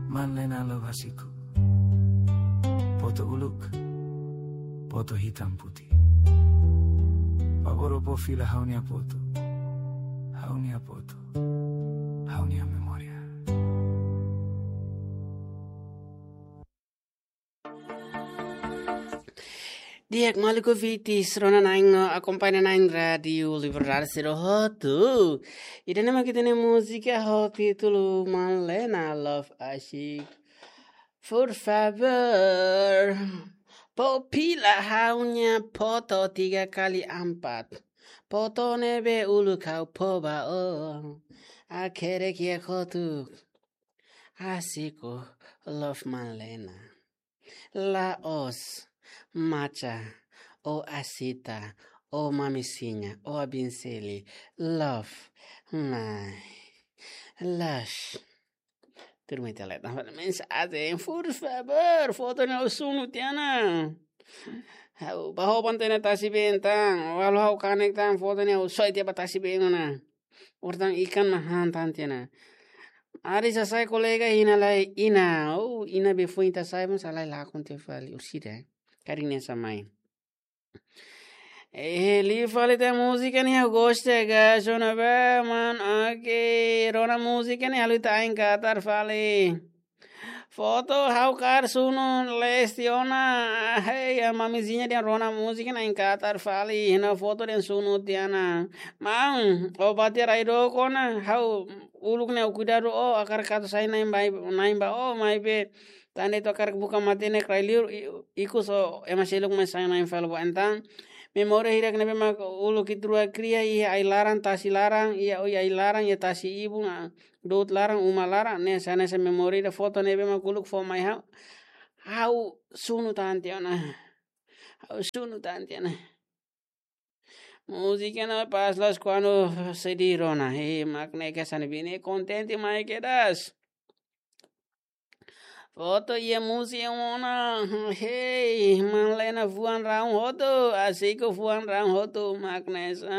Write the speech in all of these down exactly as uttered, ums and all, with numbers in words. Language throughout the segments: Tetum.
Manlena Love Asiku. Foto uluk, foto hitam putih. Favór fó fila ha'u-nia foto. Ha'u-nia foto. Ha'u-nia memória. Di'ak maluk ouvintes, rona na'in no akompaña na'in Rádiu Liberdade sira hotu. Ida-ne'e mak ita-nia múzika ho títulu Manlena Love Asiku. Por favór, fó fila ha'u-nia foto tiga kali empat. Foto ne'ebé uluk ha'u fó ba ó. Hakerek iha kotuk. Asiku, Love Manlena. La'ós Macha, ou Asita, ou Mamisinha, ou Abinseli. Love, nai. Lash. Turma ita leta mensajen, por favór, foto ne'e ha'u sunu tiha ona. Ha'u ba hoban tiha ona tasi-been tan, walau ha'u kanek tan, foto ne'e ha'u soe tiha ba tasi-been ona. Orsida ikan mak han tan tiha ona. Ari sasai kolega hina lai ina. Oh, ina be foin ita sai mós halai lakon tiha fali. Orsida, eh. Karik nia samai. Eh, liu fali tiha múzika ne'e ha'u gosta ga, sona ba, man, oke. Rona múzika ne'e halo ita ain katar fali. Foto ha'u kaer sunu lesi ona. Hei, a Mamisinha dehan rona múzika ne'e ain katar fali. Hina foto dehan sunu tiha ona. Maun, ó bá tiha rai dook ona. Ha'u uluk ne'e ó kuidadu ó, hakarak atu sai na'in ba, na'in ba ó, maibé tan de'it hakarak buka matenek rai liur, i-, ikus ó ema seluk mai sai na'in fali ba entaun. Memória hirak ne'ebé mak uluk ita rua kria iha ai-laran, tasi laran, iha, oh, iha ai-laran, iha tasi ibun, ah, dout laran, uma laran, ne'e hanesan memória ida foto ne'ebé mak uluk fó mai ha'u. Ha'u sunu tan tiha ona. Ha'u sunu tan tiha ona. Múzika ne'e pas loos kuandu sedih rona. Hei, mak ne'e ke sani bine kontente mai kedas. Foto iha múzika ona. Hei, Manlena fuan rahun hotu. Asiku fuan rahun hotu, mak ne'e sa.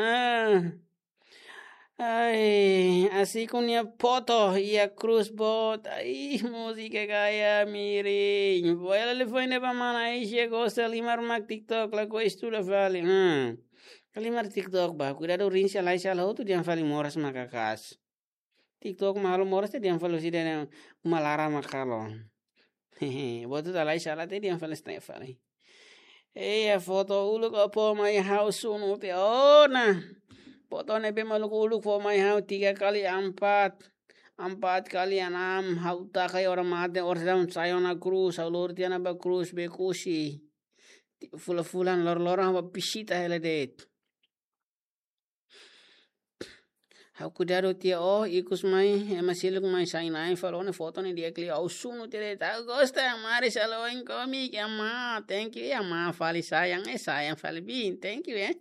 Ai, Asiku nia foto iha krús boot. Ai, múzika gaya miring. Boela lifoin ne'e ba mana Aisha gosta halimar mak TikTok, lakohi estuda fali. Hmm. Halimar TikTok ba, kuidadu rinsa lai sala hotu dehan fali moras maka kaas. TikTok mak halo moras tiha dehan fali orsida ne'e uma laran mak halo. Botu ta lai sala tiha dehan fali sne fali. Ei, a foto uluk ó fó mai ha'u sunu tiha ona. Foto ne'ebé mak uluk fó mai ha'u tiga kali empat, empat kali enam, ha'u taka iha orang mate, orsida sai ona krús, ha'u lori tiha ona ba krús Bekusi. Fulan-fulan lor-loron ha'u ba vizita hela de'it. Ha'u kuidadu tiha ó, ikus mai, ema seluk mai sai na'in fali ó-nia foto ne'e di'ak liu, ha'u sunu tiha de'it, ha'u gosta, mari saloin komi, ke ama, thank you, ya ama, fali sayang, eh, sayang fali bin, thank you, eh.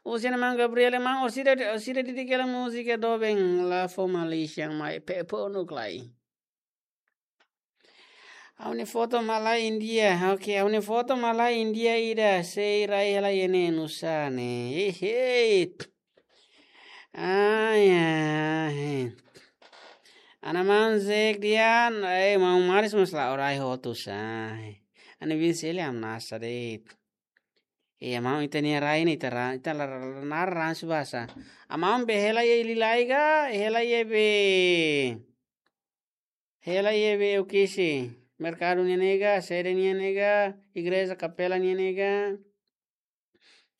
Husi nia maun Gabriel, maun, orsida, orsida didik hela múzika doben, la fó Malaysia, mai, pe, ponuk lai. Ha'u-nia foto mak la India. Oke, ha'u-nia foto mak la India ida. Sei rai hela iha ne'e nusá ne'e. Hehe. Ai, ai. Ana maun Zek dian, eh, maun Maris mós la orai hotu sa. Ana bin seli am nasa de'it. Iya, maun ita-nia rai ne'e, ita ra-, ita la, la, la, la, ran subasa. Amaun be hela iha Ililai ka, hela iha be. Hela iha be Ukisi, merkadu nian ne'e ka, sede nian ne'e ka, igreja kapela nian ne'e ka.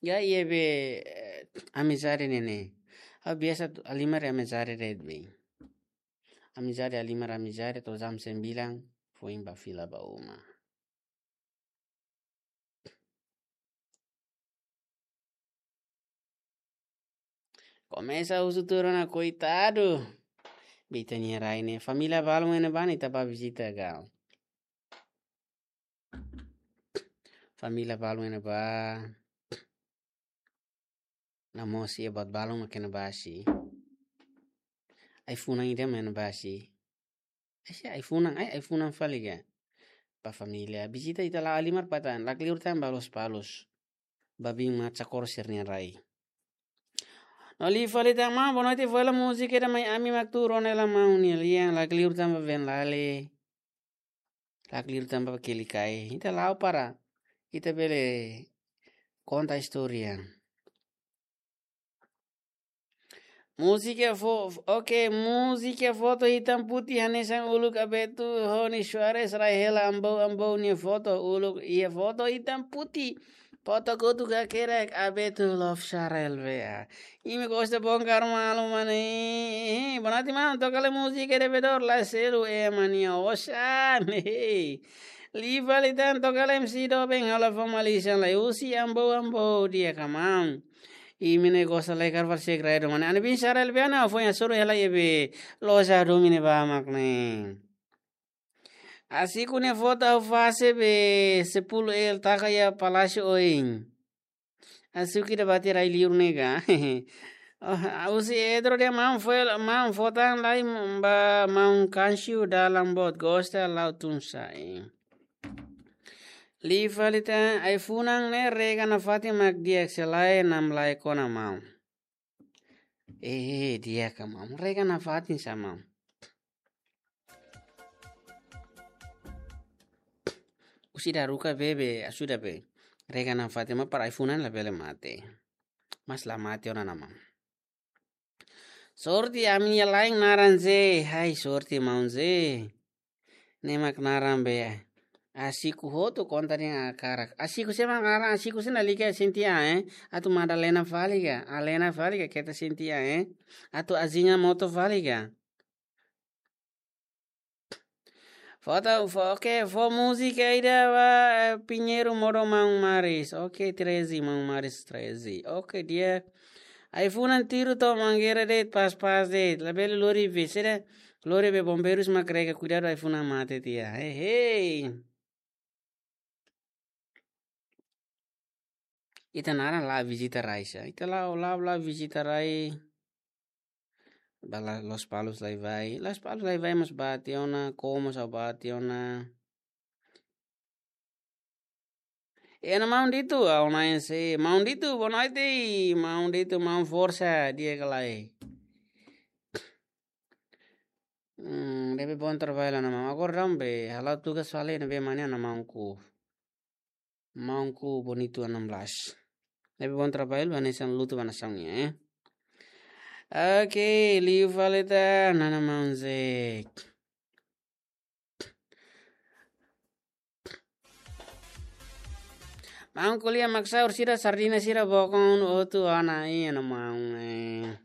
Ya iha be, eh, amizade nian ne'e. Ha'u biasa tu halimar amizade de'it be. Amizade halimar amizade to'o jam sembilan, foin ba fila ba uma. Komesa husu tuur ona koitadu. Be ita-nia rai ne'e. Família balun iha ne'ebá ne'e ita bá vizita ka. Família balun iha ne'ebá. Namosi iha buat balun mak iha ne'ebá sih. Ai-funan ida mak iha ne'ebá sih. Ai-funan, ai, ai-funan fali ka. Ba família. Vizita ita la'o halimar ba tan. Lakleur tan ba Lospalos. Ba biin Macha Korsir nia rai. No liu fali tan maun, boa noite, fó hela múzika ida mai ami mak tuur ona hela maun nia lian. Lakleur tan ba Venlale. Lakleur tanba kelikai. Ita la'o para. Ita bele konta istória. Múzika fo-, ok, múzika foto hitam putih hanesan uluk Abeto Rony Soares rai hela ambou ambou nia foto uluk iha foto hitam putih. Foto kotuk hakerek Abeto love Sarel bea. Imi gosta bongkar malu mane. Bonati maun toka lai múzika de bedor la selu e mania osan. Liu fali tan toka lai M C Doben halo fó malisan lai husi ambou ambou di'ak ka maun. Imi ne'e gosta lai karval segredu mane. Ani bin Sarel bea na fó nia suru hela iha be loja domin ne'ebá mak ne'e. Asiku nia foto ha'u fase be sepuluh L taka iha Palásiu oin. Asiku ida bati rai liur ne'e ka. Oh, husi Edro de maun fó, maun fó tan lai ba maun Kansiu dalan boot gosta la'o tun sa'e. Liu fali tan ai-funan ne'e rega nafatin mak di'ak se lae namlae kona maun. Eh, di'ak ka maun. Rega nafatin sá maun. Husi daruka be be, asuda be. Rega nafatin mak para ai-funan labele mate. Mas la mate ona na maun. Sorte ami-nia laen naran Ze, hai sorte maun Ze. Ne'e mak naran be. Asiku hotu konta dehan hakarak. Asiku sé mak naran, asiku sé na liga Sintia, eh. Atu Madalena fali ka, Alena fali ka keta Sintia, eh. Atu Azinha Moto fali ka. Foto, fó, ok, fó múzika ida ba, eh, Pinheiro modo maun Maris. Ok, treze, maun Maris treze. Ok, di'ak. Ai-funan tiru to'o mangeira de'it pas-pas de'it. Labele lori be, sede lori be bombeirus mak rega kuidadu ai-funan mate tiha. Hei, hei. Ita naran la vizita rai sá. Ita la, la, la vizita rai. Ba la Lospalos lai vai. Lospalos lai vai mós bá tiha ona, Como sá bá tiha ona. E na maun ditu, au na ese. Maun ditu, boa noite. Maun ditu, maun forsa, di'ak ka lae. Hmm, debe bom trabalho na maun. Agora dam be, hala'o tugas fali ne'ebé mane na maunku. Maunku Bonito enam belas. Debe bom trabalho, ba hanesan lutu ba nasaun nian, eh. Ok, liu fali tan, nana maun Zek. Maun ko'alia mak sa'e, orsida sardina sira bokon hotu ona, iha na maun, eh.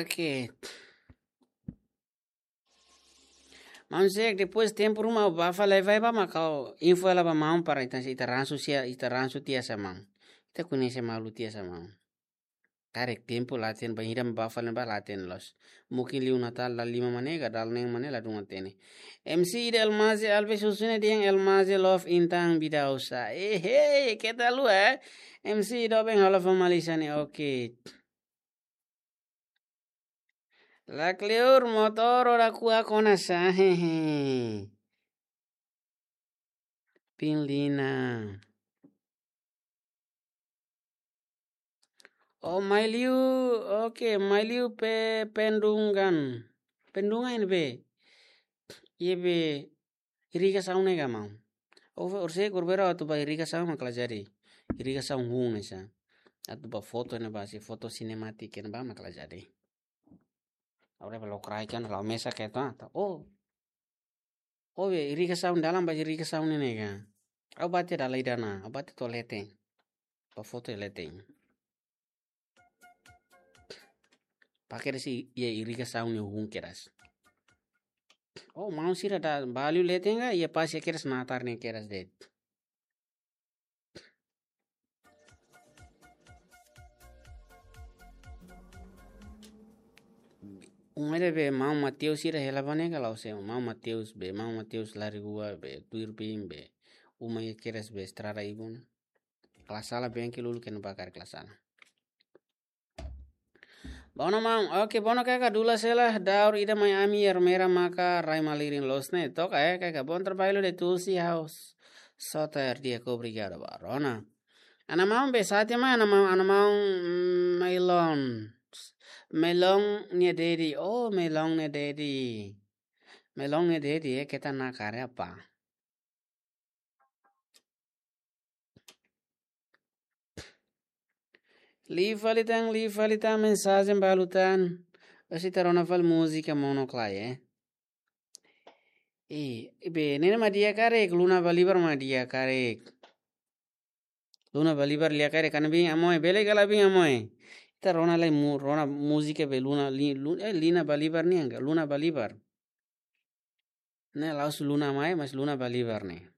Ok. Maun Zek, depois tempu ruma bá fali vai ba mak ha'u info hela ba maun para ita, ita ransu sia, ita ransu tiha sá maun. Ita koñese malu tiha sá maun. Karik tempu la hatene, bainhira bá fali ba la hatene loos. Mungkin liu Natál dala lima mane ka dala neen mane ladún hatene. M C ida Elmaze Alves husu ne'e dehan Elmaze love intan bidau sá. Eh, hey, keta haluha, eh. M C ida ben halo famali sani, ok. La kleur motór ora kua kona sá, hehe. Pin Lina. Oh, mai liu, ok, mai liu pe Pendungan. Pendungan ne'ebé? Iha be irrigasaun ne'e ka maun. Ou, orsida governu atu ba irrigasaun mak la jadi. Irrigasaun hun ne'e sá. Atu ba foto ne'e ba si foto sinematik ne'e ba mak la jadi. Agora ba lokraik kan la mesa ke to, ah, to. Oh. Oh, be irrigasaun dalan ba irrigasaun ne'e ka. Au bate dala ida ona, au bate to'o leten. Ba foto iha leten. Ba kedas iha irrigasaun nia hun kedas. Oh, maun sira da ba liu leten ka, iha pas iha kedas natar ne'e kedas de'it. Uma ida be maun Mateus sira hela ba ne'e ka la'ós, maun Mateus be, maun Mateus Larigua be, tuir bin be, uma iha kedas be estrada ibun. Kala sala bengkel uluk kena bakar kala sala. Bono maun, ok, bono kaka dula sela, daur ida mai ami ermera maka rai malirin loos ne'e, toka, eh, kaka bom trabalho de Tulsi House. Soter dia ko obrigado ba rona. Ana maun be sate mai, ana maun, ana maun, mm, Mailon. Melon nia daddy. Oh, Melon nia daddy. Melon nia daddy, eh, keta na karya apa? Liu fali tan, liu fali tan, mensajen balu tan. Orsida ita rona fali múzika Mono Clay, eh. Eh, be, ne'e mak di'ak karik, Luna Balibar mak di'ak karik. Luna Balibar di'ak karik, kan bin Amoy, bele kala bin Amoy. Ita rona lai mu-, rona múzika be Luna, li-, lu-, eh, Lina Balibar nian ka, Luna Balibar. Ne'e la'ós Luna Mai, mas Luna Balibar ne'e.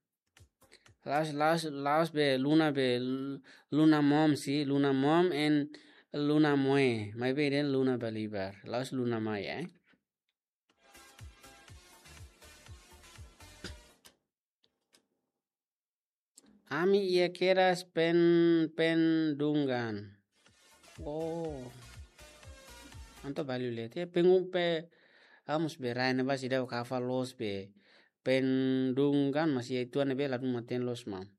La'ós, la'ós, la'ós be Luna be L-, Luna Mom sih, Luna Mom and Luna Moe. Maibé dehan Luna Balibar. La'ós Luna Mai, eh. Ami iha kedas Pen-, Pendungan. Oh. Entaun Bali le te pengun pe amus be rai ne'ebá seidauk hafal loos be. Pendungan masih iha tuan be ladún matenek loos maun.